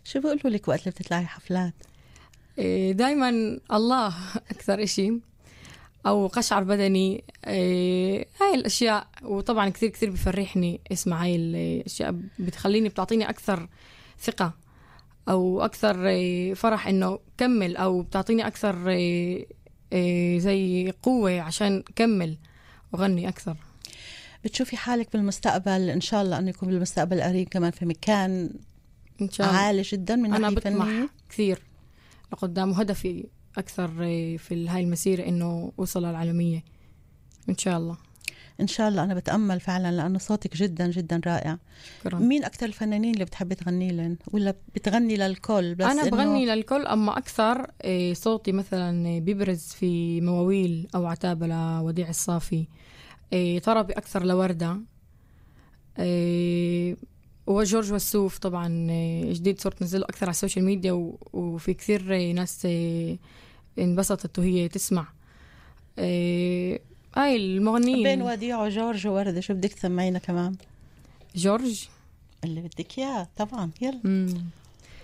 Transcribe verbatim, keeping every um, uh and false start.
شو بيقولوا لك وقت اللي بتطلعي حفلات؟ دايما الله أكثر إشي، أو قشعر بدني، هاي الأشياء. وطبعا كثير كثير بفرحني اسمع هاي الأشياء، بتخليني بتعطيني أكثر ثقة أو أكثر فرح إنه كمل، أو بتعطيني أكثر زي قوة عشان كمل وغني أكثر. بتشوفي حالك بالمستقبل إن شاء الله أنه يكون بالمستقبل القريب كمان في مكان إن شاء الله عالي جدا من أنا ناحية بطمح فنية؟ كثير لقدام، وهدفي أكثر في هاي المسيرة إنه أوصل للعالمية إن شاء الله. إن شاء الله. أنا بتأمل فعلا لأنه صوتك جدا جدا رائع. شكرا. مين أكتر الفنانين اللي بتحبي تغني لهم، ولا بتغني للكل؟ بس أنا إنه بغني للكل، أما أكثر صوتي مثلا بيبرز في مواويل أو عتابة لوديع الصافي، طربي أكثر لوردة، وجورج وسوف طبعا جديد صرت نزله أكثر على السوشيال ميديا، وفي كثير ناس انبسطت وهي تسمع. هاي المغنيين بين وديع وجورج ووردة شو بدك تسمعينا كمان؟ جورج اللي بدك إياه طبعا. يلا. مم.